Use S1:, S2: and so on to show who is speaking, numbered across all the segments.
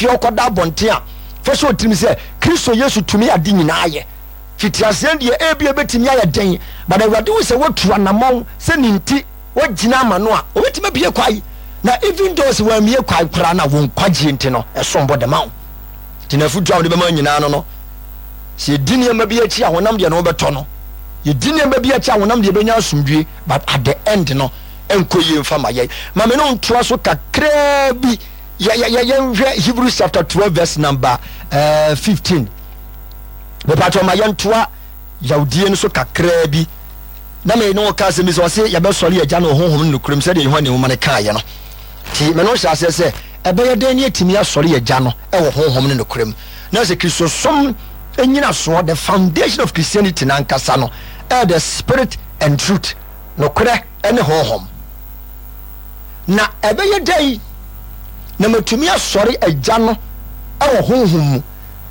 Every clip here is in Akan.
S1: fie ɔkɔda abɔnten a, fa hyɛ wo tirim sɛ Kristo Yesu tumi ade nyinaa yɛ. Fitiaseɛ deɛ ebia ɛbɛtumi ayɛ den, but Awurade hu sɛ woatu anamɔn sɛ ne nti woagyina ama no a, ɔbɛtumi abue kwae. Na even though sɛ wammue kwae koraa no a, wo nkwagyeɛ nti no, ɛsom bo de ma wo. Nti n'afotuo a wode bɛma nyinaa no no, sɛ yɛdi nneɛma bi akyi a honam deɛ no wobɛtɔ no, yɛdi nneɛma bi akyi a honam deɛ bɛnya asomdwie, but at the end no, ɛnkɔ yie mfa ma yɛn. Ma me ne wo ntoa so kakraa bi. Yɛnhwɛ Hebrews chapter 12 verse number 15. Mepatwɔ ma yɛntoa yawdie no so kakraa bi. Na me ne wo ka asɛm bi sɛ ɔse yɛbɛsɔre agya no honhom no nokorɛm sɛdeɛ Yohane nwoma no kaeɛ no. Nti me ne wo hyɛ aseɛ sɛ ɛbɛyɛ dɛn ne atumi asɔre agya no wɔ honhom no nokorɛm. Na sɛ Kristosom nyinasoɔ, the foundation of Christianity no ankasa no, ɛyɛ the spirit and truth, nokorɛ ne honhom. Na ɛbɛyɛ dɛn na matumi asɔre agya no wɔ honhom mu?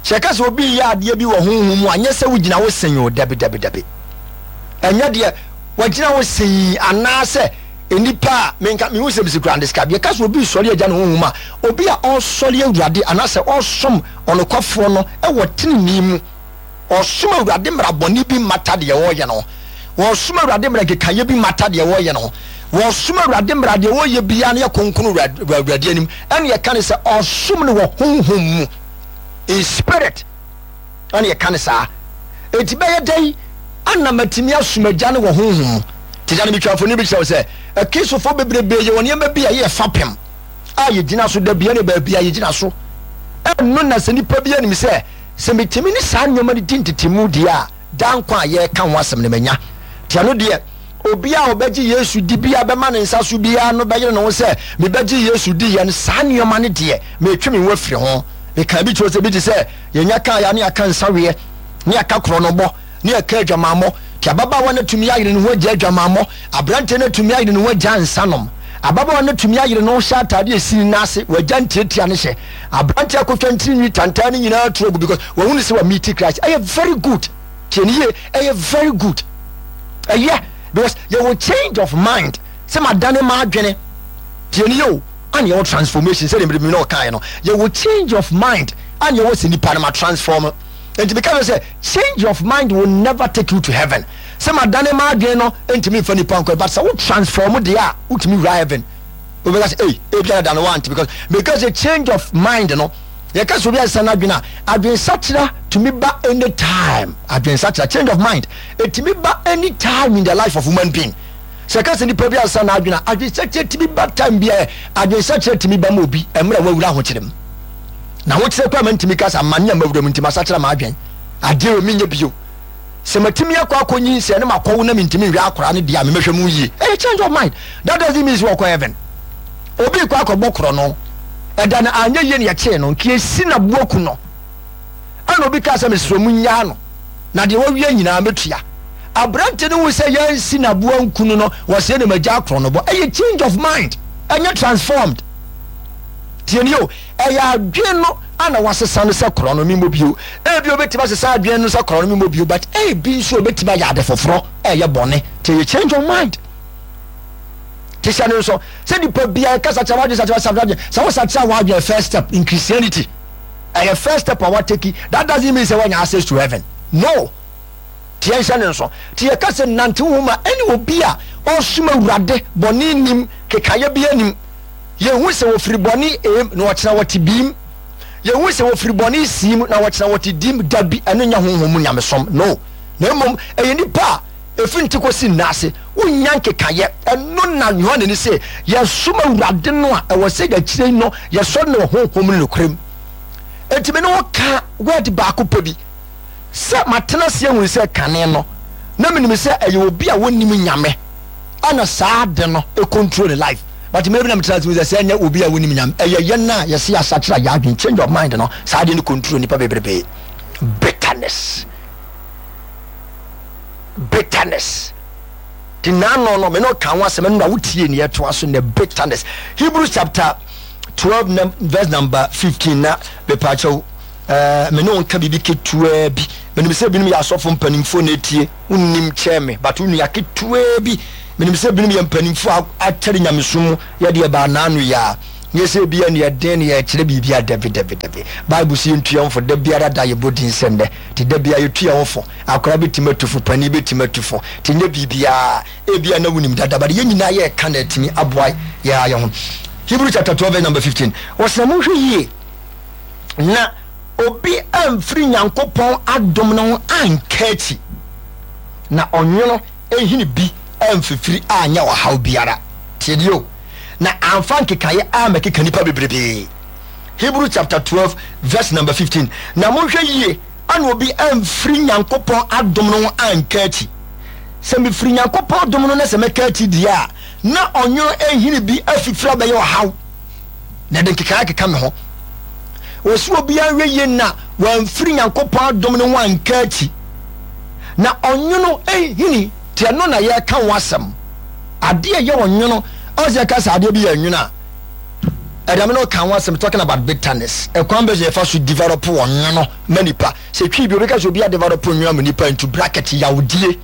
S1: Sɛ yɛka sɛ obi reyɛ adeɛ bi wɔ honhom mu a, nyɛ sɛ wogyina wo sen o, dabi, dabi, dabi. Ɛnyɛ deɛ wagyina wo sen anaasɛ nnipa a menka mehu sɛ mesi kura describe. Yɛka sɛ obi resɔre agya no honhom a, obi a ɔresɔre Awurade anaasɛ ɔresom ɔnokwafoɔ no wɔ tenenee mu. Ɔresom Awurade mmara bɔne bi mmata deɛ ɔreyɛ no ho. Ɔresom Awurade mmara nkekaeɛ bi mmata deɛ ɔreyɛ no ho. Ɔresom Awurade mmara deɛ ɔreyɛ biara no yɛ kronkron wɔ Awurade anim. Ɛne yɛka no sɛ ɔresom no wɔ honhom mu. In spirit. Ɛne yɛka no saa. Enti bɛyɛ dɛn ana matumi asom Agya no wɔ honhom mu? Te sɛ no metwa mfoni bi kyerɛ wo sɛ Akristofoɔ bebrebe yɛwɔ nneɛma bi a ɛyɛ fapem a yɛgyina so da bia ne baabi a yɛgyina so. Ɛno na sɛ nipa bi anim sɛ Sɛ metumi ne saa nneɛma no di ntetemu deɛ a, daa nkwa a yɛreka ho asɛm no manya. Nti ɛno deɛ, obiara a ɔbɛgye Yesu di biara bɛma ne nsa so biara no bɛyere ne ho sɛ, Mebɛgye Yesu diiɛ no, saa nneɛma no deɛ, meretwe me ho afiri ho. Mekaa bi kyerɛ wo sɛ, bi te sɛ, yɛnya kaa yɛ a na yɛaka nsaweɛ, na yɛaka korɔnobɔ, ne yɛka adwamammɔ. Nti ababaawa no atumi ayere ne ho agya adwamammɔ, aberanteɛ no atumi ayere ne ho agya nsanom, ababaawa no atumi ayere ne ho hyɛ ataadeɛ a ɛsi ne nan ase, wagya ntiatia no hyɛ. Aberanteɛ akotwa ntirinwi tantan no nyinaa tu agu because wahunu sɛ wa meet Christ. Ɛyɛ very good. Tie ne yie, ɛyɛ very good. Ɛyɛ because yɛwɔ change of mind sɛ madane m'adwene. Tie ne yie o, ana yɛwɔ transformation sɛdeɛ mmerɛ bi na ɔkaeɛ no. Yɛwɔ change of mind ana yɛwɔ sɛ nipa no ma transform. Nti meka sɛ change of mind will never take you to heaven. Sɛ madane m'adwene no ntumi nfa nipa nkɔ but sɛ wo transform deɛ a wotumi wura heaven. Wobɛka sɛ ei ebia na da no wante because meka sɛ change of mind no yɛka sɛ obi asesa n'adwene a adwensakyera tumi ba anytime. Adwensakyera change of mind ɛtumi ba anytime in the life of human being. Sɛ yɛka sɛ nipa bi asesa n'adwene a adwensakyera tumi ba time biara. Adwensakyera tumi ba ma obi mmerɛ wawura ahokyere mu. Na ahokyerɛ koraa ma ntumi ka sɛ amane a mawura mu nti masakyera m'adwene adeɛ wɔ menyɛ bio. Sɛ matumi akɔ akɔ nyinsɛn na makɔwo na mentumi nhwɛ akwadaa no deɛ a memɛhwɛ mu yie. Ɛyɛ change of mind. That doesn't mean sɛ wɔkɔ heaven. Obi kɔ akɔbɔ korɔ no ɛda no anyɛ yie na yɛkyee no nka yɛsi no aboa ku no. Ɛna obi kaa sɛ mesrɛ mo nnyaa no na deɛ wawia nyinaa mɛtua. Aberante no hu sɛ yɛnsi no aboa nku no no wɔsɛ na magya akorɔ no bɔ. Ɛyɛ change of mind ɛnyɛ transformed. Tie nie o, ɛyɛ adwene no ana wasesa no sɛ korɔ no memmɔ bio. Ebi obetumi asesa adwene no sɛ korɔ no memmɔ bio, but ebi nso obetumi ayɛ ade foforɔ ɛyɛ bɔne. Nti ɛyɛ change of mind. Te hyɛ no nso sɛ nipa biara kasa kyerɛ w'adwene sakyera sakyera adwene sɛ wosakyera w'adwene first step in Christianity ɛyɛ first step a wateki. That doesn't mean sɛ wanya access to heaven. No. Te yɛnhyɛ no nso. Te yɛka sɛ nante wo ho ma ɛne obi a ɔsom Awurade bɔne nim kekayɛ bi anim. Yɛhu sɛ wɔfiri bɔne A mu na wɔkyena wɔte B mu. Yɛhu sɛ wɔfiri bɔne C mu na wɔkyena wɔte D mu. Dabi, ɛno nyɛ honhom mu nyamesom. No. Na mmom ɛyɛ nnipa a ɛfiri nte kɔsi nna ase, wonnya nkekaeɛ. Ɛno na Yohane no se, yɛsom Awurade no a, ɛwɔ sɛ akyire yi no yɛsɔre no wɔ honhom ne nokorɛ mu. Enti me ne wo ka word baako pɛ bi. Sɛ matena ase ahunu sɛ kane no, na menim sɛ ɛyɛ obi a wɔnnim Nyame ɛna saa ade no control ne life. But mmerɛ bi na metena ase hu sɛ sɛ ɛnyɛ obi a wonim Nyame, ɛyɛ yɛn a yɛse yɛasakyera yɛn adwene, change of mind no, saa adeɛ no control nipa bebrebe. Bitterness. Bitterness. Ti naano no, me ne ɔka ho asɛm ɛno na wotie ne yɛtoa so nɛ bitterness. Hebrews chapter 12 verse number 15 na mepaakyɛw eh, me ne wo nka biribi ketewaa bi. Menim sɛ binom yɛ asɔfo mpanimfoɔ na etie, wonnim kyɛn me, but wo nua ketewaa bi. Menim sɛ binom yɛ mpanimfoɔ a akyɛre nyamesom mu, yɛ deɛ baa naano yi ara. Nyɛ sɛ ebia nea ɛden na yɛrekyerɛ biribi a, dabi, dabi, dabi. Bible se yɛntu yɛn ho fo da biara da, yɛbɔ din sɛ nnɛ. Nti da biara yɛtu yɛn ho fo. Akwadaa bɛtumi atu fo, panin bɛtumi atu fo. Nti nyɛ biribiara. Ebia na wonim dada, but yɛn nyinaa yɛreka na atumi aboa yɛn ara yɛn ho. Hebrew chapter 12 verse number 15. Ɔse na monhwɛ yie na obi amfiri Nyankopɔn adom no ho anka akyi, na ɔnwono ehini bi amfifiri anyɛ ɔhaw biara. Tie deɛ o. Na amfa nkekaeɛ ammɛkeka nnipa bebrebee. Hebrew chapter 12 verse number 15. Na monhwɛ yie ana obi amfiri Nyankopɔn adom no ho anka akyi. Sɛ mefiri Nyankopɔn dom no na sɛ mɛka akyi deɛ a, na ɔnwono ehini bi afifiri abɛyɛ ɔhaw, na ɛde nkekaeɛ akeka me ho. Wɔsi obiara nhwɛ yie na wamfiri Nyankopɔn adom no ho anka akyi. Na ɔnwono ehini, te ɛno na yɛreka ho asɛm. Adeɛ a ɛyɛ ɔnwono, ɔn sɛ yɛka sɛ adeɛ bi yɛ nwono a, ɛdame no ka ho asɛm, talking about bitterness. Ɛkwan bɛ so yɛfa so develop ɔnwono ma nipa. Sɛ twi bi obi ka sɛ obi adevelop nwono ama nipa into bracket yawdie.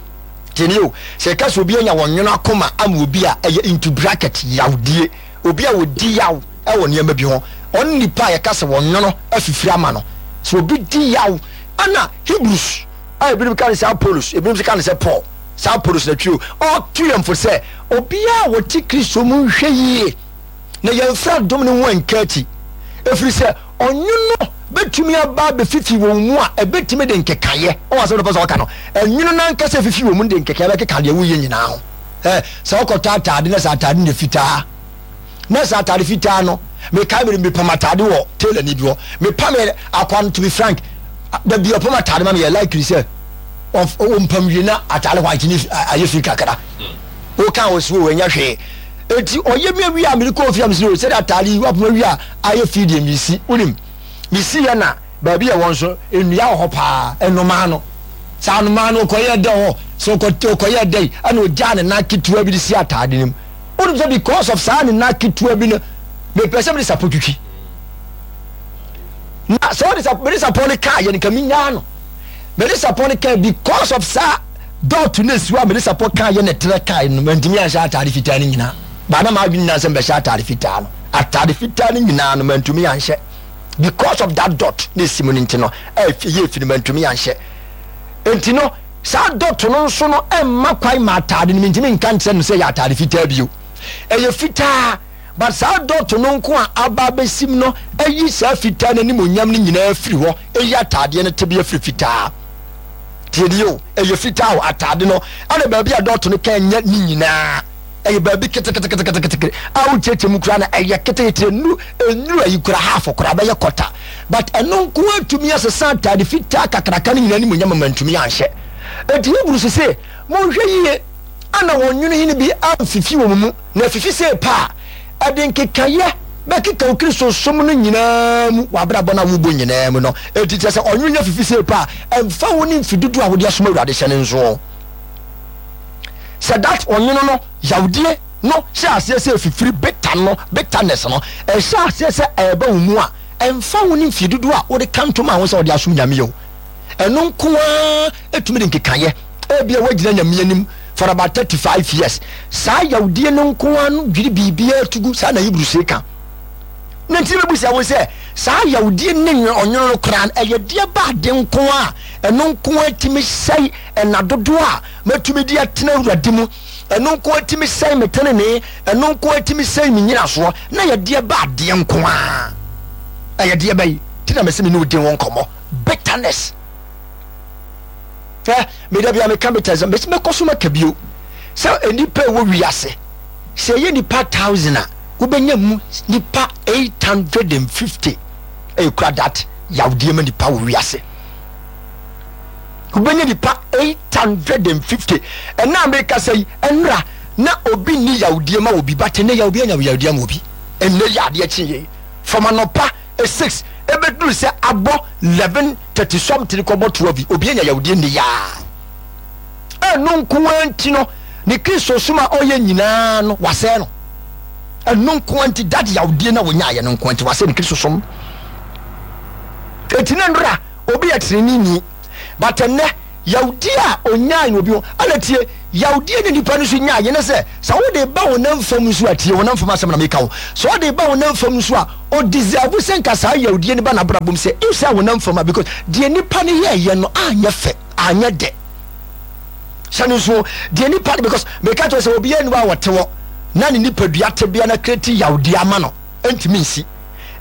S1: Tiɛni o, sɛ yɛka sɛ obi anya ɔnwono akoma ama obi a, ɛyɛ into bracket yawdie. Obi a ɔdi yaw wɔ nneɛma bi ho, ɔne nipa a yɛka sɛ wɔnwono afifiri ama no. Sɛ obi di yaw, ɛna Hebrews a ebinom ka no sɛ Apollos, ebinom nso ka no sɛ Paul, saa Apollos na twi o, ɔto yɛn fo sɛ obiara a ɔte Kristo mu nhwɛ yie na yɛmfiri adom no ho anka akyi, ɛfiri sɛ ɔnwono bɛtumi aba abɛfifi wɔn mu a ɛbɛtumi de nkekaeɛ. Ɔwɔ asɛm no pɛ sɛ ɔka no, ɛnwono no ankasa ɛfifi wɔn mu no de nkekaeɛ bɛkeka deɛ woyɛ nyinaa ho. Ɛ sɛ wokɔtɔ ataade na sɛ ataade no yɛ fitaa na sɛ ataade fitaa no, mekae mede mepam ataade wɔ tailor ni bi hɔ, mepam yɛ akwa no to be frank, da bi ɔpam ataade ma me yɛ likely sɛ ɔmpam wie na ataade white ne ayɛ fi kakra, woka wɔ so ɛnyɛ hwee. Eti ɔyɛ mi awie a mede kɔɔ fie a mesɛ sɛde ataade yi wapam awie a ayɛ fi deɛ mesi, wonim mesi yɛ na baabi a ɛwɔ nso nnua wɔ hɔ paa, nnomaa no saa nnomaa no ɔkɔyɛ dɛ hɔ sɛ ɔkɔyɛ dɛ ɛna ɔgyaa ne nan ketewa bi de si ataade no mu. Wonim sɛ because of saa ne nan ketewa bi no mepɛ sɛ mede sapɔ twitwi na sɛ wode sapɔ mede sapɔ no kaa yɛ no nka menyaa no mede sapɔ no kaa because of saa dɔɔto no esiwa mede sapɔ kaa yɛ na ɛtrɛ kaa no mantumi anhyɛ ataade fitaa no nyinaa baa na maadwene nyinaa sɛ mbɛhyɛ ataade fitaa no ataade fitaa no nyinaa no mantumi anhyɛ because of that dot na esi mu no nti no ɛyɛ efi no mantumi anhyɛ nti no Saa dɔto no nso no mma kwan ma ataade no, mentumi nka nkyerɛ no sɛ ɛyɛ ataade fitaa bio. Ɛyɛ fitaa, but saa dɔto no nko a aba abɛsim no ayi saa fitaa no animuonyam no nyinaa afiri hɔ, ɛyi ataadeɛ no tebea firi fitaa. Tie nie o, ɛyɛ fitaa o, ataade no, ɛna baabi a dɔto no ka nyɛ ne nyinaa. Ɛyɛ baabi keteketeketekete a wokyerɛkyerɛ mu koraa na ɛyɛ ketekete, nnuru nnuru ayi koraa half koraa bɛyɛ kɔta, but ɛno nko ara tumi asesa ataade fitaa kakraka no nyinaa animuonyam ma mantumi anhyɛ. Enti Hebrews se, Monhwɛ yie ana wɔn nwene hene bi amfifi wɔn mu, na afifi sei pɛ a, ɛde nkekaeɛ bɛkeka wo Kristosom no nyinaa mu, w'abrabɔ no a wobɔ nyinaa mu no. Enti kyerɛ sɛ ɔnwene afifi sei pɛ a, ɛmfa wo ne mfe dodoɔ a wode asom Awurade hyɛ no nsoɔ. Sɛ that ɔnwono no yawdie no hyɛ aseɛ sɛ ɛfifiri, bitter no, bitterness no, ɛhyɛ aseɛ sɛ ɛreba wo mu a, ɛmfa ho ne mfie dodoɔ a wode ka ntom a ho sɛ wode asom Nyame o, ɛno nko ara ɛtumi de nkekaeɛ. Ebia woagyina Nyame anim for about 35 years, saa yawdie no nko ara no dwiri biribiara to gu, saa na Hebrews ka. Na nti mɛbusa wo sɛ, saa yawdie ne ɔnwono no koraa no, ɛyɛ deɛ ba ade nko a ɛno nko ara tumi sɛe Nna dodoɔ a mɛtumi de atena Awurade mu, ɛno nko ara tumi sɛe me tenenee, ɛno nko ara tumi sɛe me nyinasoɔ, na yɛ deɛ ba adeɛ nko ara. Ɛyɛ deɛ bɛyi ti na mɛsɛ me ne wo di ho nkɔmmɔ. Bitterness. Hwɛ, me da bia meka bitterness, mɛsɛ mɛkɔ so maka bio. Sɛ nnipa ɛwɔ wiase, sɛ ɛyɛ nnipa 1000 a, wobɛnya mu nnipa 850 ɛkura that yawdeɛ ma nnipa wɔ wiase. Wobɛnya nipa 850. Ɛna a mekasa yi, ɛnora na obi nni yawdie ma obi, but ɛnɛ yɛ obi anya yawdie ama obi. Ɛnɛ yɛ adeɛ kye yei from anɔpa 6 ɛbɛduru sɛ abɔ 11:30 something kɔbɔ 12, obi anya yawdie nne yaa. Ɛno nko ara nti no, ne Kristo som a ɔyɛ nyinaa no, wasɛe no. Ɛno nko ara nti, that yawdie na wɔnyaayɛ no nko ara nti, wasɛe ne Kristo som. Enti na nnora obi yɛ treneeni but ɛnnɛ yawdi a onyae no obi ho ɛna tie. Yawdie ne nipa no nso nyaeɛ ne sɛ, sɛ wode ba honam fam nso a, tie honam fam asɛm na meka o, sɛ wode ba honam fam nso a, ɔdeserve sɛ nka saa yawdie no ba n'abrabɔ mu sɛ if sɛ honam fam a, because deɛ nipa no yɛɛyɛ no anyɛ fɛ, anyɛ dɛ. Hyɛ no nso deɛ nipa no, because meka kyerɛ sɛ obiara nni hɔ a ɔte hɔ na ne nipadua tebea no akreti yawdie ama no, ɛntumi nsi.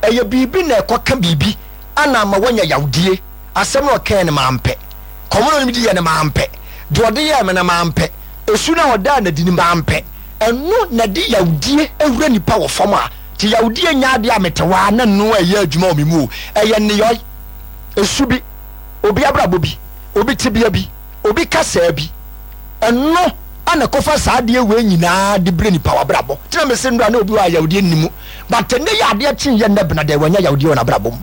S1: Ɛyɛ biribi na ɛkɔka biribi ana ama wanya yawdie. Asɛm no a ɔkae no mampɛ. Kɔm no a ɔne me diiɛ no mampɛ. Deɛ ɔde yɛɛ me no mampɛ. Esu no a ɔdaa no adi no mampɛ. Ɛno na ɛde yawdie wura nipa wɔ fam a, nti yawdie nyɛ adeɛ a mete hɔ ara na ɛno ɛyɛ adwuma wɔ me mu o. Ɛyɛ nneyɔe, esu bi, obi abrabɔ bi, obi tebea bi, obi kasaa bi. Ɛno na ɛkɔfa saa adeɛ wei nyinaa de brɛ nipa wɔ abrabɔ. Nti na mese nnora na obi wɔ a yawdie nni mu. But ɛnnɛ yi adeɛ kye yɛ nnɛ bena deɛ wanya yawdie wɔ n'abrabɔ mu.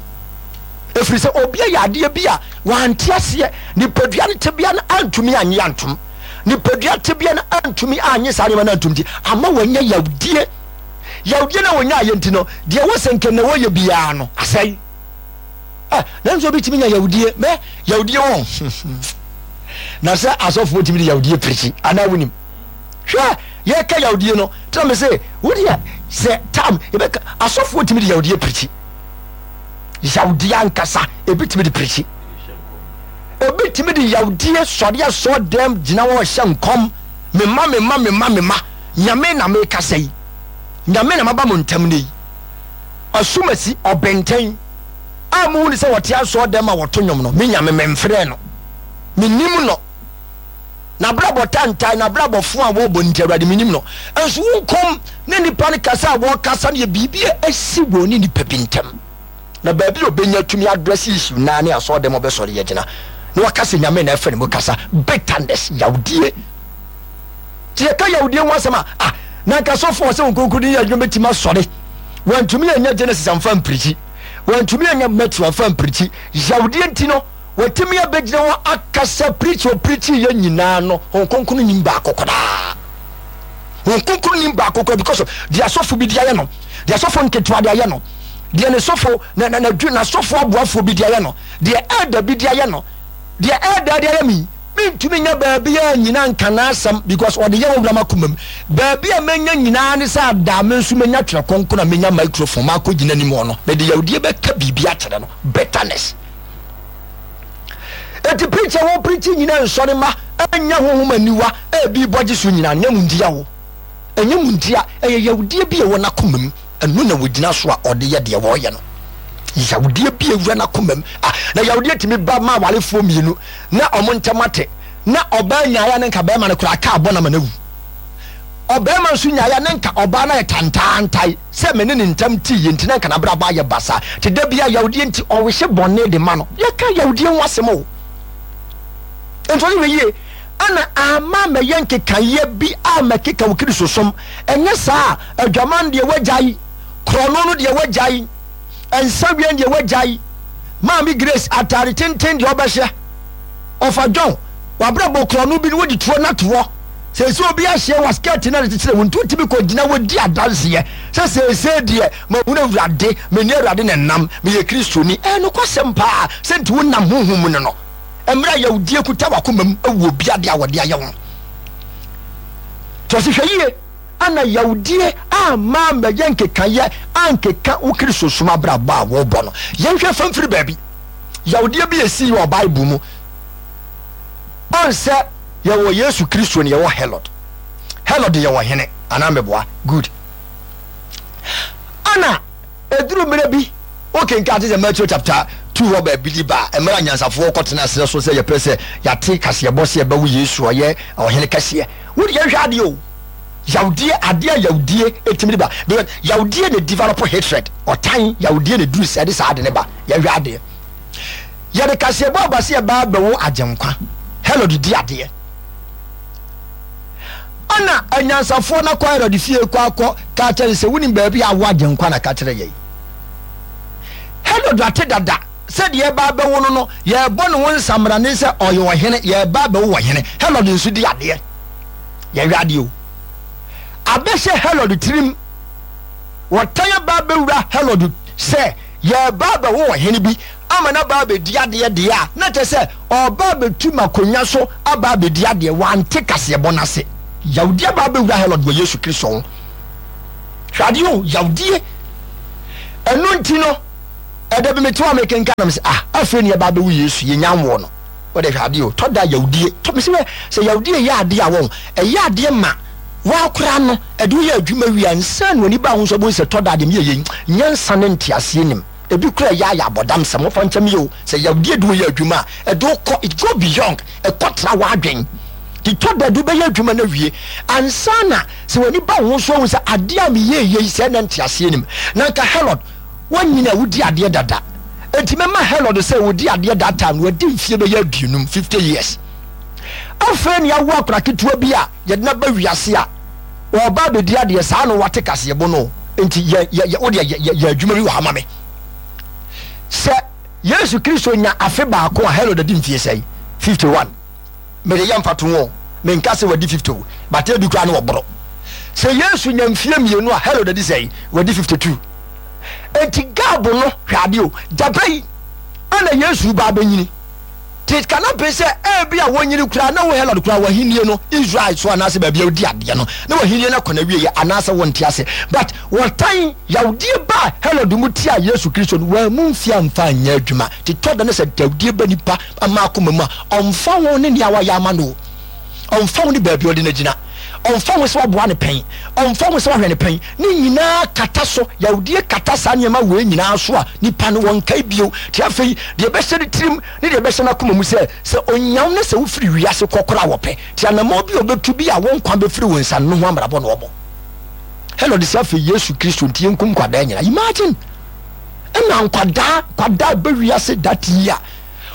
S1: Ɛfiri sɛ obi ayɛ adeɛ bi a wante aseɛ, nipadua no tebea no antumi annye antom, nipadua tebea no antumi annye saa nneɛma no antom nti, ama wanya yawdie. Yawdie no a wɔnyaeɛ nti no, deɛ ɛwɔ sɛ nka na wɔyɛ biara no, asɛe. Eh, nanso obi tumi nya yawdie, mɛ yawdie wɔ na sɛ asɔfoɔ tumi de yawdie pirikyi anaa wonim. Hwɛ, yɛka yawdie no, tena me se, wodeɛ sɛ tam yɛbɛka asɔfoɔ tumi de yawdie pirikyi. Yawdeɛ ankasa, ebi tumi de pirikyi. Obi tumi de yawdie sɔre asɔ dɛm gyina hɔ hyɛ nkɔm. Mema, mema, mema, mema. Nyame na mekasa yi. Nyame na maba mo ntam ne yi. Asumasi, ɔbɛntɛn a muhu ne sɛ wɔte asɔ dɛm a wɔto nnwom no, me Nyame memfrɛ no. Menim no. N'abrabɔ tantan, n'abrabɔ fo a wɔbɔ nti, Awurade menim no. Nso wo nkɔm ne nnipa no kasa a wɔkasa no yɛ biribi a asi wɔn ne nnipa bi ntam. Na baabi a ɔbɛnya tumi address issue naa ne asɔre dɛm ɔbɛsɔre agyina na waka sɛ Nyame na ɛfɛ ne mu kasa. Bitterness, yawdie. Nti yɛka yawdie ho asɛm a, ah, na nka sɔfo a ɔsɛ wɔn kronkron din yɛ adwuma bɛtumi asɔre. Wantumi anya Genesis amfa mpirikyi. Wantumi anya Matthew amfa mpirikyi. Yawdie nti no, Watumi abɛgyina hɔ akasa preach ɔpreachi yɛ nyinaa no Honhom Kronkron nim baako koraa. Honhom Kronkron nim baako koraa because of deɛ asɔfo bi de ayɛ no, deɛ asɔfo nketewa de ayɛ no, deɛ ne sɔfo na na na n'asɔfo aboafoɔ bi de ayɛ no, deɛ elder bi de ayɛ no, deɛ elder de ayɛ me mentumi nya baabi a nyina nka n'asɛm because ɔde yɛ wɔwura m'akoma mu. Baabi a menya nyinaa ne sɛ adaa me nso menya twerɛ kronkron a menya microphone makɔ gyina anim hɔ no mede yawdie bɛka biribi akyerɛ no bitterness. Enti preach a wɔpreach nyina nsɔre ma ɛnyɛ honhom aniwa ebi bɔ gye so nyina nyɛ mu ntia wo ɛnyɛ mu ntia ɛyɛ yawdie bi a ɛwɔ n'akoma mu ɛno na wɔgyina so a ɔde yɛ deɛ wɔyɛ no yawdie bi awura n'akoma mu ah na yawdie tumi ba ma awarefoɔ mmienu na ɔmo ntɛm ate na ɔbaa nyaeɛ ne nka bɛrima no koraa kaa bɔ na ma no awu ɔbɛrima nso nyaeɛ ne nka ɔbaa no ayɛ tantaantae sɛ me ne ne ntam tee yɛ nti na anka n'abrabɔ ayɛ basaa nti da biara yawdie nti ɔwehye bɔne de ma no. Yɛka yawdie ho asɛm o. Nti ɔse hwɛ yie ana ama mɛyɛ nkekaeɛ bi a mɛkeka wo Kristosom. Ɛnyɛ saa a adwaman deɛ wagyae, korɔno no deɛ wagyae, nsaweɛ deɛ wagyae, Maame Grace ataare tenten deɛ ɔbɛhyɛ, ɔfa John wabrabɔ korɔno bi no wode tuo no ato hɔ. Seesei obi ahyɛ wa skirt na de kyekyere wo nti wotumi kɔgyina hɔ di adanseɛ sɛ seesei deɛ mahunu Awurade, me ne Awurade na ɛnam, meyɛ Kristoni. Ɛyɛ nokwasɛm paa sɛ nti wonam honhom mu no no. Mmerɛ a yawdie kuta w'akoma mu wɔ obi adeɛ a wɔde ayɛ wo. Nti ɔse hwɛ yie ana yawdie amma ammɛyɛ nkekayɛ ankeka wo Kristosom abrabɔ a wobɔ no. Yɛnhwɛ fa mfiri baabi. Yawdie bi esii wɔ Bible mu. Ɔnsɛ yɛwɔ Yesu Kristo ne yɛwɔ Herod. Herod yɛ ɔhene anaa meboa? Good. Ana eduru mmerɛ bi wokenkan te sɛ Matthew chapter 2 hɔ baabi de ba a mmerɛ a nyansafoɔ kɔtena serɛ so sɛ yɛpɛ sɛ yɛate kaseɛbɔ sɛ yɛbɛwo Yesu ɔyɛ ɔhene kɛseɛ. Wode yɛnhwɛ adeɛ o. Yawdie adeɛ a yawdie ɛtumi de ba because yawdie na develop hatred ɔtan yawdie na duru sɛ ɛde saa ade ne ba yɛnhwɛ adeɛ. Yɛde kaseɛbɔ aba sɛ yɛba abɛwo Agyenkwa. Herod di adeɛ. Ɛna anyansafoɔ no akɔ Herod fie kɔ akɔ ka kyerɛ no sɛ wonim baabi a awo Agyenkwa na ka kyerɛ yɛn. Herod ate dada sɛ deɛ ɛba abɛwo no no yɛrebɔ ne ho nsamrane sɛ ɔyɛ ɔhene, yɛreba abɛwo ɔhene. Herod nso di adeɛ. Yɛhwɛ adeɛ o. Abɛhyɛ Herod tirim. Wɔtan aba abɛwura Herod sɛ yɛreba abɛwo ɔhene bi. ama no aba abɛdi adeɛ deɛ a, na kyerɛ sɛ ɔreba abɛtu m'akonnwa so aba abɛdi adeɛ. Wante kaseɛbɔ no ase. Yawdie aba abɛwura Herod wɔ Yesu Kristo ho. Hwɛ adeɛ o, yawdie. Ɛno nti no, ɛda bi mete hɔ a mekenkan na mesɛ, ah, afei ne yɛba abɛwo Yesu, yɛnya nwoo no. Wode hwɛ adeɛ o, tɔ da yawdie. Tɔ, mesɛ wɛ, sɛ yawdie yɛ adeɛ a wɔn, ɛyɛ adeɛ ma woakora no, ɛde woyɛ adwuma wie a, nsa na w'ani ba ho nso abɛhu sɛ tɔ da adeɛ meyɛ yei, nyansa ne nteaseɛ nim. Ebi koraa ɛyɛ ayɛ abɔdamsɛm, wɔfa nkyɛm yɛ o, sɛ yawdie de woyɛ adwuma a, ɛde wokɔ, it go beyond, ɛkɔ tra w'adwen. Nti tɔ da de wobɛyɛ adwuma no awie ansa na sɛ w'ani ba wo ho so ahu sɛ adeɛ a meyɛɛ yei sɛɛ na nteaseɛ nim. Na nka Herod, woanyini a wodi adeɛ dada. Enti mɛma Herod sɛ ɔdi adeɛ that time no wadi mfie bɛyɛ aduonum, 50 years. Afei na yɛawo akwadaa ketewa bi a yɛde no aba wiase a ɔreba abɛdi adeɛ saa na wate kaseɛbɔ no. Enti yɛ yɛ yɛ wodeɛ yɛ yɛ yɛ adwuma bi wɔ ha ma me. Sɛ Yesu Kristo nya afe baako a Herod adi mfie sɛn? 51. Mede yɛ mfatoho o, menka sɛ wadi 50 o, but ebi koraa ne wɔboro. Sɛ Yesu nya mfie mmienu a, Herod adi sɛn? Wadi 52. Enti gap no, hwɛ adeɛ o, gyaba yi ana Yesu ba abɛnyini. Te kana pɛ sɛ ebi a wɔnyini koraa na wo Herod koraa w'ahennie no Israel so anaasɛ baabi a wodi adeɛ no na w'ahennie no akɔ n'awieɛ anaasɛ wonte ase. But wɔtan yawdie ba Herod mu tia Yesu Kristo no, wɔammu mfie amfa anyɛ adwuma. Te tɔ da no sɛ yawdie ba nipa ama akoma mu a, ɔmfa ho ne nea wayɛ ama no o, ɔmfa ho ne baabi a ɔde no agyina, ɔmfa ho sɛ waboa no pɛn, ɔmfa ho sɛ wahwɛ no pɛn, ne nyinaa kata so. Yawdie kata saa nneɛma wei nyinaa so a, nipa no wɔnkae bio. Te afei, deɛ ɛbɛhyɛ ne tirim ne deɛ ɛbɛhyɛ n'akoma mu sɛ, sɛ ɔnya wo na sɛ wofiri wiase kɔ koraa a wɔpɛ. Te anammɔn bi a ɔbɛtu bi a wo nkwa bɛfiri wo nsa no ho abrabɔ na ɔbɔ. Herod sɛ afei Yesu Kristo nti yɛnkum nkwadaa nyinaa. Imagine! Ɛna nkwadaa, nkwadaa bɛ wiase that year.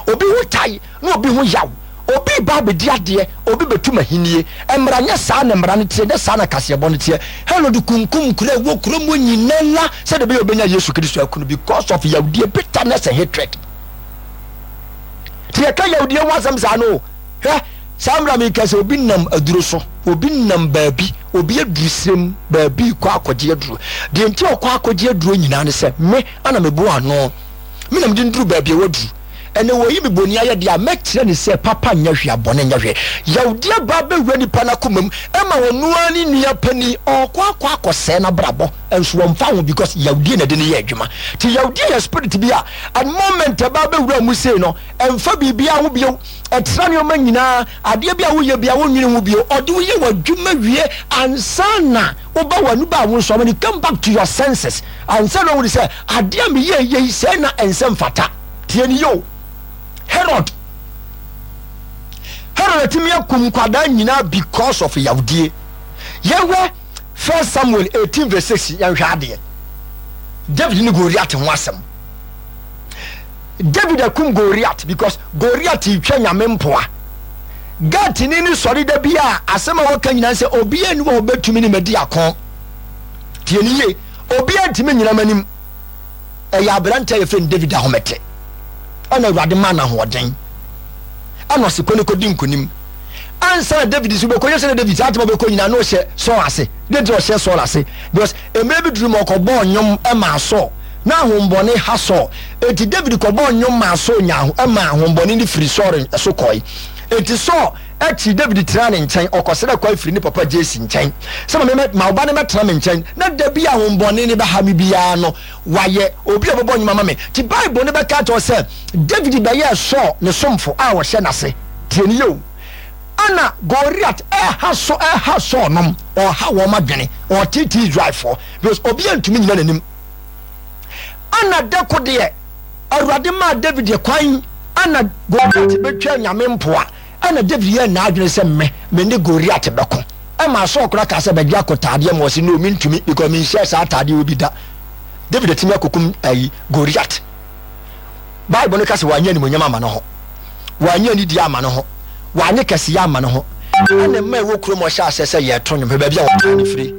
S1: Obi ho tae na obi ho yaw. Obi reba abɛdi adeɛ, obi bɛtu m'ahennie. Mmara nyɛ saa na mmara no teɛ, nyɛ saa na kaseɛbɔ no teɛ. Herod kunkum nkuro a ɛwɔ kurom hɔ nyinara sɛdeɛ ɛbɛyɛ ɔbɛnya Yesu Kristo aku no because of yawdie, bitterness and hatred. Nti yɛka yawdie ho asɛm saa no, hwɛ saa mmerɛ meka sɛ obi nam aduro so, obi nam baabi, obi aduru serem baabi kɔ akɔgye aduro. Deɛ nti ɔkɔ akɔgye aduro nyinaa ne sɛ me ana meboa ano. Me na mede no duru baabi a waduru. Ɛnɛ wɔyi me boni ayɛ deɛ a, mɛkyerɛ no sɛ papa nyɛ hwee a bɔne nyɛ hwee. Yawdeɛ ba bɛwura nipa no akoma mu ma ɔno ara ne nua panin ɔɔkɔ akɔ akɔsɛe n'abrabɔ nso ɔmfa ho because yawdie na ɛde no yɛ adwuma. Nti yawdie yɛ spirit bi a at moment ɛba bɛwura mu sei no ɛmfa biribiara ho bio, ɛtra nneɛma nyinaa, adeɛ bi a woyɛ biara wonnwene ho bio, ɔde wo yɛ w'adwuma wie ansa na woba w'ani ba wo nso when you come back to your senses ansa na wohunu sɛ adeɛ a meyɛ yei sɛɛ na ɛnsɛ mfata. Tie ne yio. Herod Herod atumi akum nkwadaa nyinaa because of yawdie. Yɛhwɛ First Samuel 18 verse 6 yɛnhwɛ adeɛ. David ne Goliath ho asɛm. David akum Goliath because Goliath retwa nyame mpoa. Gatini no sɔre da bi a asɛm a wɔka nyinaa sɛ obiara nni hɔ a ɔbɛtumi ne madi ako. Tie ne yie, obiara ntumi nyina m'anim. Ɛyɛ aberante a yɛfrɛ no David ahomete. Ɛna Awurade maa no ahoɔden. Ɛna ɔse kɔ ne kɔdi nkonim. Ansa na David nso bɛkɔ, yɛ sɛ na David saa atema bɛkɔ nyinaa na ɔhyɛ Saul ase. Deɛ nti ɔhyɛ Saul ase? Because mmerɛ bi duru ma ɔkɔbɔɔ nnwom maa Saul. Na ahombɔne ha Saul. Enti David kɔbɔɔ nnwom maa Saul nyaa ɛmaa ahombɔne no firi Saul so kɔe. Enti Saul akyi David tenaa ne nkyɛn, ɔkɔsrɛɛ kwan firi ne papa Jesse nkyɛn sɛ ma me ma wo ba no mmɛtena me nkyɛn na da bi a ahombɔne no bɛha me biara no wayɛ obi a ɔbɛbɔ nnwom ama me. Nti Bible no bɛka akyerɛ wo sɛ David bɛyɛɛ Saul ne somfo a ɔhyɛ n'ase. Tie no yie o. Ana Goliat ɛha so ɛha Saul nom, ɔha wɔn adwene, ɔteetee Israelfoɔ because obiara ntumi nyina n'anim. Ana dako deɛ Awurade maa David kwan ana Goliat bɛtwa nyame mpoa. Ɛna David yɛɛ n'adwene sɛ me me ne Goliat bɛko. Ɛmaa Saul koraa kaa sɛ bɛgye akotaadeɛ ma ɔse no mentumi because menhyɛɛ saa ataadeɛ wɔ bi da. David atumi akokum ayi Goliat. Bible no ka sɛ wanyɛ animuonyam ama ne ho, wanyɛ anidie ama ne ho, wanyɛ kɛseyɛ ama ne ho. Ɛna mma ɛwɔ kurom ɔhyɛ aseɛ sɛ yɛto nnwom hwɛ baabi a wɔtaa no firi.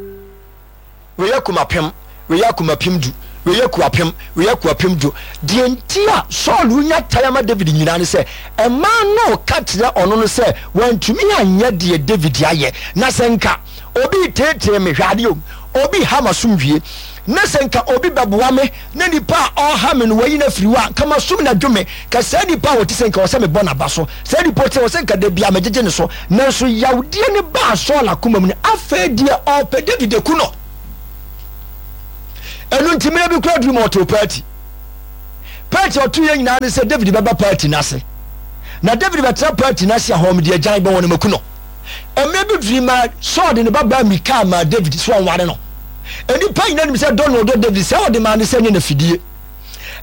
S1: Wei yɛ kumapem, wei yɛ akumapem du, wei yɛ kuapem, wei yɛ kuapem du. Deɛ nti a Saul nya tan ama David nyinaa ne sɛ, mmaa no reka kyerɛ ɔno no sɛ wantumi anyɛ deɛ David ayɛ. Na sɛ nka obi reteetee me, hwɛ adeɛ o, obi reha m'asomdwie. Na sɛ nka obi bɛboa me na nipa a ɔreha me no wayi no afiri hɔ a, nka masum no adwo me. Ka saa nipa a ɔte sɛ nka ɔsɛ mebɔ n'aba so. Saa nipa ɔte sɛ ɔsɛ nka da biara megyegye ne so. Nanso yawdeɛ no baa Saul akoma mu no, afei deɛ ɔrepɛ David aku no. Ɛno nti mmerɛ bi koraa duru ma ɔtoo paati. Paati a ɔtoeɛ nyinaa ne sɛ David bɛba paati no ase. Na David bɛtena paati no ase a hɔ mede agyan bɛwɔ no maku no. Mmerɛ bi duru ma Saul de ne babaa Mikal maa David sɛ ɔnware no. Nnipa nyinaa nim sɛ dɔ na ɔdɔ David, sɛ ɔde maa no sɛ ɛnyɛ n'afidie.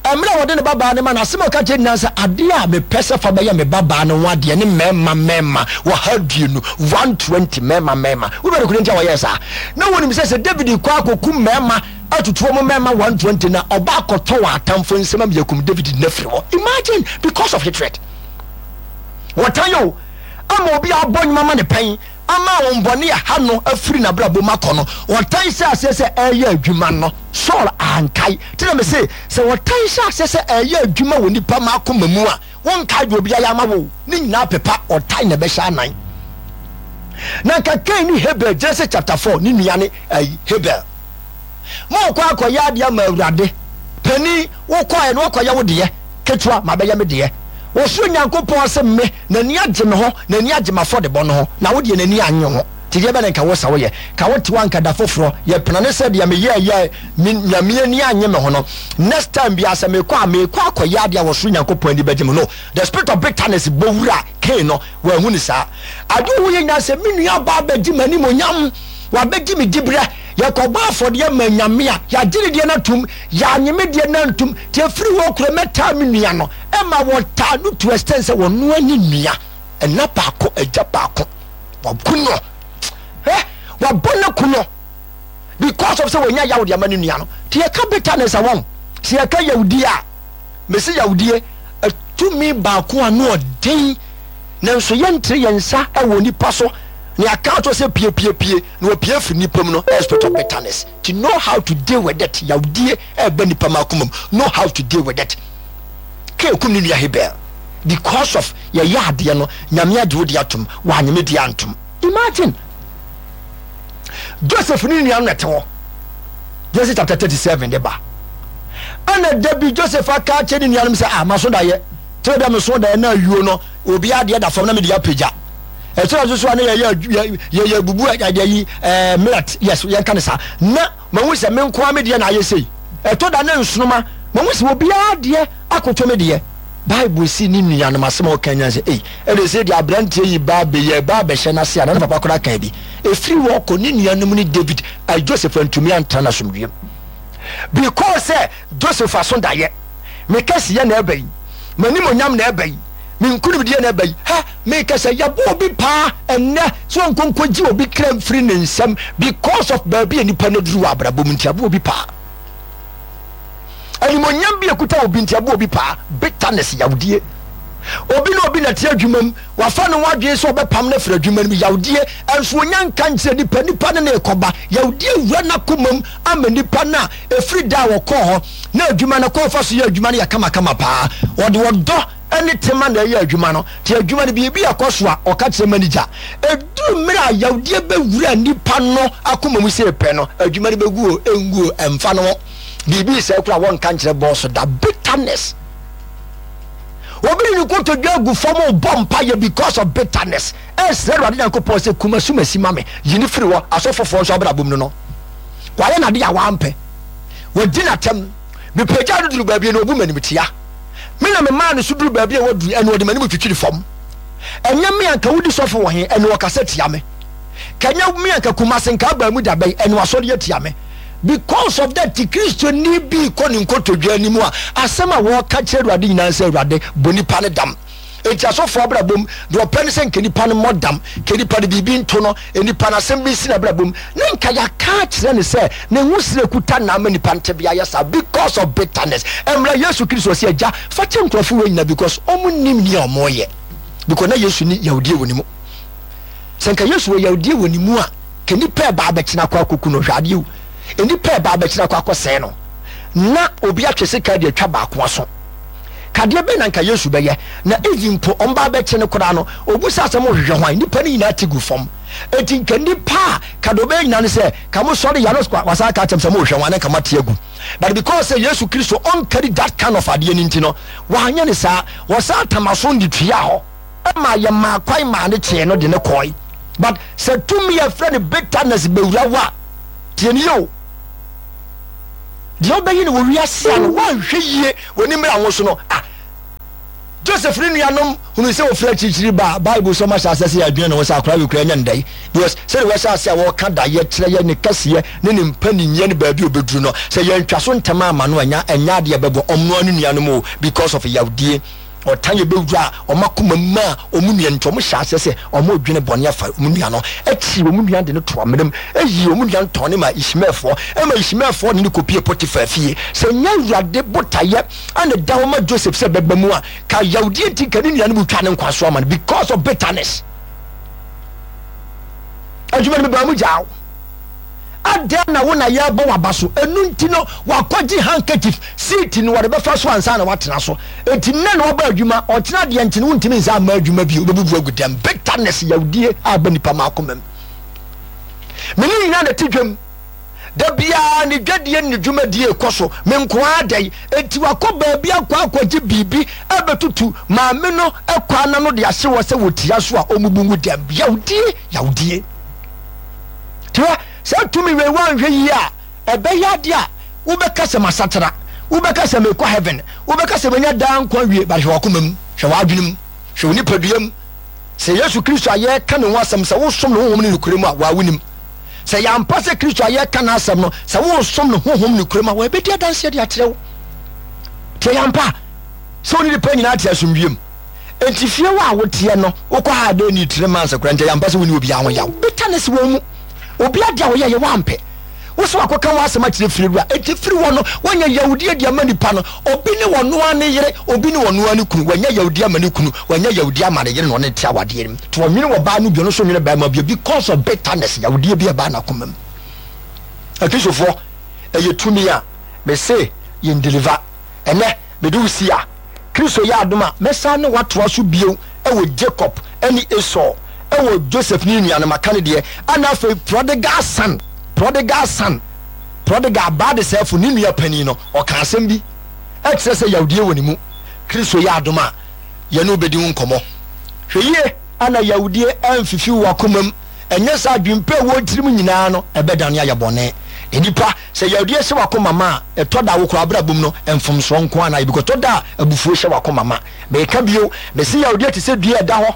S1: Mmerɛ a wɔde ne babaa no ma no, asɛm a ɔka kyerɛ nyinaa sɛ, adeɛ a mepɛ sɛ fa bɛyɛ me babaa no ho adeɛ ne mmarima mmarima wɔha aduonu, 120 mmarima mmarima. Wobɛ no kuro nti a wɔyɛɛ saa? Na wɔnim sɛ sɛ David kɔ akɔku mmarima atutu wɔn mmarima 120 na ɔba akɔtɔ wɔn atamfo nsam ama yɛakum David no afiri hɔ. Imagine, because of hatred. Wɔtan o, ama obi abɔ nnwuma ma ne pɛn ama ahonhommɔne a ɛha no afiri n'abrabɔ mu akɔ no, ɔtan hyɛɛ aseɛ sɛ ɛreyɛ adwuma no, Saul ankae. Nti na mese, sɛ ɔtan hyɛ aseɛ sɛ ɛreyɛ adwuma wɔ nipa ma akoma mu a, wonkae deɛ obi ayɛ ama wo. Ne nyinaa pepa, ɔtan na ɛbɛhyɛ anan. Na nka Kain ne Habel, Genesis chapter 4, ne nua ne ayi, Habel. Morekɔ akɔyɛ adeɛ ama Awurade. Panin, wokɔɛ no wakɔyɛ wo deɛ, ketewa, mabɛyɛ me deɛ. Ɔsoro Nyankopɔn se me, n'ani agye me ho, n'ani agye m'afɔdebɔ no ho, na wo deɛ n'ani annye ho. Nti deɛ bɛn na nka wo sɛ woyɛ? Ka wo te hɔ anka da foforɔ, yɛ penane sɛ deɛ meyɛɛyɛ a me Nyame ani annye me ho no, next time biara sɛ mekɔ a, mekɔ akɔyɛ adeɛ a ɔsoro Nyankopɔn ani bɛgye me. No, the spirit of bitterness bɔ wura Cain no, wanhu no saa. Adeɛ ɔhu yɛ nyinaa sɛ me nua baa bɛgye m'animonyam, wabɛgye me diberɛ, yɛkɔbɔ afɔdeɛ ma Nyame a, yɛagye ne deɛ no atom, yɛanye me deɛ no antom, nti ɛfiri hɔ korɔ mɛtaa me nua no. Ɛma wɔtaa no to extent sɛ wɔnoa ne nua ɛna baako agya baako waku no ɛ wabɔ no ku no because of sɛ wɔnya yaw de ama ne nua no. Nti yɛka bitterness a wɔn sɛ yɛka yawdie a mesi yawdie tumi baako a no ɔden nanso yɛntere yɛn nsa wɔ nipa so na yɛaka ato sɛ piepiepie na wɔpie firi nipa mu no ɛyɛ spirit of bitterness. To know how to deal with it, yawdie ɛba nipa ma akoma mu, know how to deal with it. Kain kum ne nua Habel because of yɛyɛ adeɛ no Nyame agye wo deɛ atom wanye me deɛ antom. Imagine Joseph ne nua no na ɛte hɔ Genesis chapter 37 de ba ɛna da bi Joseph aka akyɛ ne nuanom sɛ ah maso dayɛ kyerɛ dɛ meso dayɛ na ayuo no obi adeɛ da fam na mede apagya ɛkyerɛ nso so a na yɛyɛ yɛyɛ bubu adeɛ yi ɛɛ millet yes yɛnka ne saa na Mahu sɛ me nko ara me deɛ na ayɛ sei. Ɛtɔ da ne nsonoma, mahu sɛ obiara deɛ akoto me deɛ. Bible se ne nuanom asɛm a wɔka nyinaa sɛ, Ei, ɛnde sei deɛ aberanteɛ yi ba abɛyɛ, ba abɛhyɛ n'ase a, na ne papa koraa kaa bi. Ɛfiri hɔ kɔ, ne nuanom ne David, ai, Joseph antumi antena n'asomdwoeɛ mu. Because sɛ Joseph aso daeɛ, me kɛseyɛ na ɛba yi, m'animuonyam na ɛba yi, Me nkonimdie na ɛba yi. Hɛ! Meka sɛ yɛbɔ obi paa ɛnnɛ sɛ ɔnkɔ nkɔgye obi kra mfiri ne nsam because of baabi a nipa no aduru wɔ abrabɔ mu nti abɔ obi paa. Animonyam bi ekuta obi nti abɔ obi paa. Bitterness, yawdie. Obi ne obi na te adwuma mu, wafa ne ho adwene sɛ ɔbɛpam no afiri adwuma no mu, yawdie. Ɛnso onya nka nkyerɛ nipa, nipa ne ne rekɔba. Yawdie wura n'akoma mu ama nipa no a ɛfiri da a wɔkɔɔ hɔ na adwuma no kɔn fa so yɛ adwuma no yɛ kamakama paa. Ɔde ɔdɔ ne tema na ɛyɛ adwuma no. Nti adwuma no biribi ɛkɔ so a, ɔka kyerɛ manager. Ɛduru mmerɛ a yawdeɛ bɛwura nipa no akoma mu sɛ pɛ no, adwuma no bɛgu o, ɛngu o, ɛmfa no ho. Biribi sɛe koraa wɔnka nkyerɛ bɔɔso da. Bitterness. Obi de ne kotodwe agu fam rebɔ mpaeɛ because of bitterness. Ɛsrɛ Awurade Nyankopɔn sɛ kum asumasi ma me, yi no firi hɔ. Asɔfofoɔ nso abrabɔ mu no no, wayɛ n'ade a wampɛ. Wadi n'atɛm. Mepagyaa no duru baabi na ɔbu m'animtia. Me na memaa no so duru baabi a waduru, ɛnna ɔde m'anim twitwiri fam. Ɛnyɛ me anka wodi sɔfo wɔ he, ɛnna ɔkasa tia me. Ka ɛnyɛ me anka Kumase nka abaa mu da bɛn, ɛnna wasɔre atia me. Because of that, Kristoni bi kɔ ne nkotodwe anim a, asɛm a wɔka kyerɛ Awurade nyinaa sɛ, Awurade, bɔ nipa no dam. Enti asɔfoɔ abrabɔ mu, deɛ ɔpɛ ne sɛ nka nipa no mmɔ dam, nka nipa no biribi nto no, nipa no asɛm bi nsi n'abrabɔ mu, na nka yɛaka akyerɛ no sɛ ne ho srɛ kuta na ama nipa no tebea ayɛ saa because of bitterness. Ɛmmra Yesu Kristo ɔse Agya, fa kyɛ nkurɔfo wei nyina because ɔmo nnim nea ɔmo yɛ. Because na Yesu ni yawdie wɔ ne mu. Sɛ nka Yesu wɔ yawdie wɔ ne mu a, ka nipa ɛba abɛkyena akɔ akɔku no, hwɛ adeɛ o. Nipa ɛba abɛkyena akɔ akɔsɛe no, na obi atwe sika de atwa baako aso. Kadeɛ bɛn na nka Yesu bɛyɛ? Na even mpo ɔmo ba abɛkye no koraa no, obusaa sɛ mohwehwɛ hwan? Nnipa no nyinaa te gu fam. Enti nka nnipa a ka deɛ ɔbɛyɛ nyinaa ne sɛ, ka mo sɔre yɛ a na wasan aka akyerɛ mo sɛ mohwehwɛ hwan na nka moate agu. But because sɛ Yesu Kristo ɔnkari that kind of adeɛ no nti no, wanyɛ no saa. Wɔsan tam aso de tuaa hɔ ma yɛmaa kwan maa no kyee no de no kɔe. But sɛ tumi a yɛfrɛ no bitterness bɛwura wo a, tie no yie o. Deɛ wobɛyi no wɔ wiase a no woanhwɛ yie w'ani mmra ho so no ah Joseph ne nuanom hunu sɛ wɔfiri akyirikyiri ba a Bible sɛ ɔma hyɛ aseɛ sɛ yɛadwene ne ho sɛ akora wei kura ɛnyɛ ndɛe because sɛdeɛ wɔhyɛ aseɛ a wɔka daeɛ kyerɛ yɛ ne kɛseɛ ne ne mpaninyɛ ne baabi a ɔbɛduru no sɛ yɛntwa so ntɛm ama no ɛnya ɛnyɛ adeɛ ɛbɛbɔ ɔmo ne nuanom o because of yawdie Ɔtan yɛ bɛwura wɔn akoma mu maa wɔn nua no nti, wɔhyɛɛ aseɛ sɛ wɔredwene bɔne afa wɔn nua no. Akyiri wɔn nua de no too amena mu, yii wɔn nua no tɔn no maa Ismaelfoɔ, ɛma Ismaelfoɔ de no kɔpuee Potifar fie. Sɛ ɛnyɛ Awurade botaeɛ na ɛda hɔ ma Joseph sɛ ɛbɛba mu a, ka yawdeɛ nti nka ne nuanom retwa ne nkwa so ama no because of bitterness. Adwuma no mebaa mu gyaa wo. Adɛn na wo na yɛrebɔ w'aba so? Ɛno nti no, wakɔgye handkerchief, seat no wɔde bɛfa so ansa na watena so. Enti nnɛ na waba adwuma, ɔkyena deɛ nti no wontumi nsa mma adwuma bio, wobɛbubu agu dɛm. Bitterness, yawdie a aba nipa ma akoma mu. Me ne nyinaa na ɛte dwam. Da biara ne dwadie ne ne dwumadie rekɔ so, me nko ara dɛn? Enti wakɔ baabi akɔ akɔgye biribi abɛtutu maame no kwan ano de ahye hɔ sɛ wɔtia so a ɔmmubu ngu dɛm. Yawdie, yawdie. Tiwa, saa tumi wei woanhwɛ yie a, ɛbɛyɛ adeɛ a wobɛka sɛ masakyera, wobɛka sɛ mekɔ heaven, wobɛka sɛ manya daa nkwa wie, but hwɛ w'akoma mu, hwɛ w'adwene mu, hwɛ wo nipadua mu. Sɛ Yesu Kristo a yɛreka ne ho asɛm, sɛ wosom no honhom ne nokorɛ mu a, waa wonim. Sɛ ɛyɛ ampa sɛ Kristo a yɛreka n'asɛm no, sɛ wosom no honhom ne nokorɛ mu a, wɔbɛdi adanseɛ de akyerɛ wo. Nti ɛyɛ ampa sɛ wo ne nipa nyinaa te asomdwie mu. Enti fie hɔ a woteɛ no, wokɔ ha a dɛn ni three months koraa nti ɛyɛ ampa sɛ wonni obiara ho yaw. Bitterness wɔ wo mu. Obi ade a ɔyɛeɛ woampɛ. Wo sɛ wakɔka ho asɛm akyerɛ fiewura. Enti firi hɔ no, woanya yawdie de ama nipa no. Obi ne ɔno ara ne yere, obi ne ɔno ara ne kunu. Wanya yawdie ama ne kunu, wanya yawdie ama ne yere na ɔne no te awadeɛ no mu. Nti ɔnwene ɔbaa no bio, ɔno nso nwene barima bio because of bitterness, yawdie bi a ɛbaa n'akoma mu. Akristofoɔ, ɛyɛ tumi a mese yɛn deliver. Ɛnnɛ, mede wo si a, Kristo yɛ adom a, mɛsan ne wo atoa so bio wɔ Jacob ne Esau, wɔ Joseph ne ne nuanom, aka no deɛ, ɛna afei prodigal son, prodigal son, prodigal baa desɛefo, ne nua panin no, ɔka asɛm bi ɛkyerɛ sɛ yawdie wɔ ne mu. Kristo yɛ adom a, yɛne wo bɛdi ho nkɔmmɔ. Hwɛ yie ana yawdie amfifi wo akomam. Ɛnyɛ saa adwempa a ɛwɔ wo tirim nyinaa no, ɛbɛdane ayɛ bɔne. Nnipa, sɛ yadeɛ hyɛ w'akoma ma a, ɛtɔ da a wo koraa abrabɔ mu no, mfomsoɔ nko ara na ayɛ because ɛtɔ da a abufuo hyɛ w'akoma ma. Meka bio, mese yadeɛ te sɛ dua a ɛda hɔ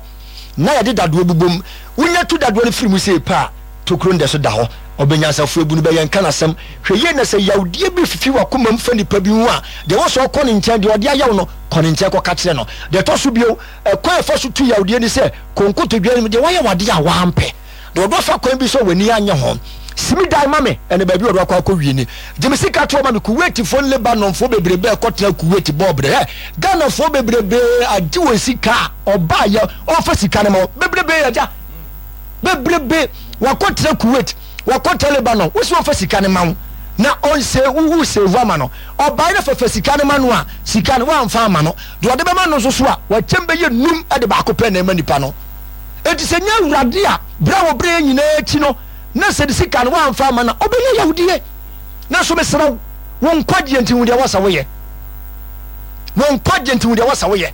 S1: na yɛde dadoɔ bobɔ mu. Wonya tu dadoɔ no firi mu sei pɛ a, tokuro no da so da hɔ. Ɔbɛnyansafoɔ abu no bɛ, yɛnka n'asɛm. Hwɛ yie na sɛ yadeɛ bi fifi w'akoma mu fa nipa bi ho a, deɛ ɛwɔ sɛ ɔkɔ ne nkyɛn, deɛ ɔde ayɛ wo no, kɔ ne nkyɛn kɔka kyerɛ no. Deɛ ɛtɔ so bio, Ɛkwan a ɛfa so tu yawdeɛ ne sɛ, kɔ nkotodwe anim, deɛ wayɛ w'adeɛ a wampɛ, deɛ ɔdɔ fa kwan bi so a w'ani anyɛ ho. Simi dan ma me, ɛne baabi a ɔdɔ akɔ akɔwie ni. Gye me sika toɔ ma me. Kuwaitfoɔ ne Lebanonfoɔ bebrebe a ɛkɔtena Kuwait bɔɔ brɛ. Hɛ, Ghanafoɔ bebrebe agye wɔn sika a ɔbaayɛ ɔmfa sika no ma wɔn. Bebrebe agya. Bebrebe wakɔtena Kuwait, wakɔtena Lebanon, wo sɛ ɔmfa sika no ma wo na ɔnsɛ wo wo save ama no. Ɔbaeɛ na fafa sika no ma no a, sika no woamfa ama no. Deɛ ɔde bɛma no nso so a, wakyɛm bɛyɛ num de baako pɛ na ɛma nipa no. Enti sɛ nyɛ Awurade a, berɛ a wɔbrɛ yɛn nyinaa akyi no, na sɛ ne sika no woamfa ama no a, ɔbɛnya yawdie. Nanso mesrɛ wo, wo nkwagyeɛ nti hu deɛ ɛwɔ sɛ woyɛ. Wo nkwagyeɛ nti hu deɛ ɛwɔ sɛ woyɛ.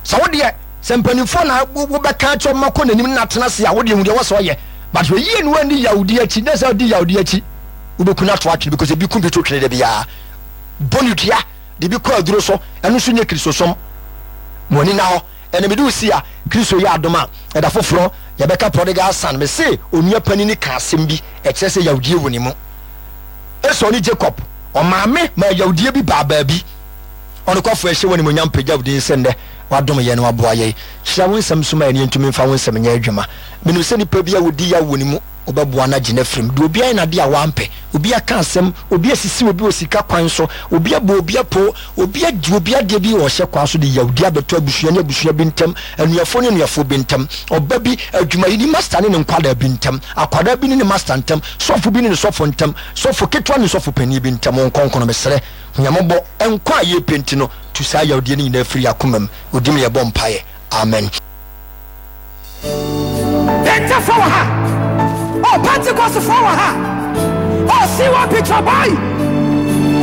S1: Sɛ wo deɛ, sɛ mpanimfoɔ na wobɛka akyerɛ ɔma kɔ n'anim na atena ase a, wo deɛ hu deɛ ɛwɔ sɛ ɔyɛ. But hwɛ yie na woanni yawdie akyi, na sɛ wodi yawdie akyi, wobɛku no ato atwene because ebi ku bi to twene da biara. Bɔ no dua. de bi kɔ aduro so, ɛno nso nyɛ Kristosom. Mo ani nna hɔ. Ɛnna mede wo si a, Kristo yɛ adom a, ɛda foforɔ yɛbɛka prodigal son. Mese onua panin ka asɛm bi, ɛkyerɛ sɛ yawdie wɔ ne mu. Esau ne Jacob, ɔmaame maa yawdie bi baa baabi. Ɔnokwafo ɛhyɛ wo animuonyam pagya wo din sɛ nnɛ wadom yɛn na waboa yɛn. Hyira wo nsɛm so ma yɛn na yɛntumi mfa wo nsɛm nyɛ adwuma. Menim sɛ nipa bi a wɔdi yaw wɔ ne mu. Wobɛboa no agye no afiri mu. Deɛ obi ayɛ no adeɛ a wampɛ, obi aka asɛm, obi asisi obi wɔ sika kwan so, obi abɔ obi apoo, obi agye obi adeɛ bi wɔ ɔhyɛ kwan so de yawdi abɛto abusua ne abusua bi ntam, anuafoɔ ne anuafoɔ bi ntam, ɔba bi, adwumayɛni masta ne ne nkwadaa bi ntam, akwadaa bi ne ne masta ntam, sɔfo bi ne ne sɔfo ntam, sɔfo ketewa ne sɔfo panin bi ntam. Wo nkɔnkɔn no, mesrɛ, hu. Hu yɛn mmɔbɔ, nkwa a yɛrepɛ nti no, tu saa yawdie no nyinaa firi yɛn akoma mu. Wo din mu yɛbɔ mpaeɛ. Amen.
S2: Pentefoɔ wɔ ha. Oh, Pentecostfoɔ wɔ ha. Oh, CYP Trabai.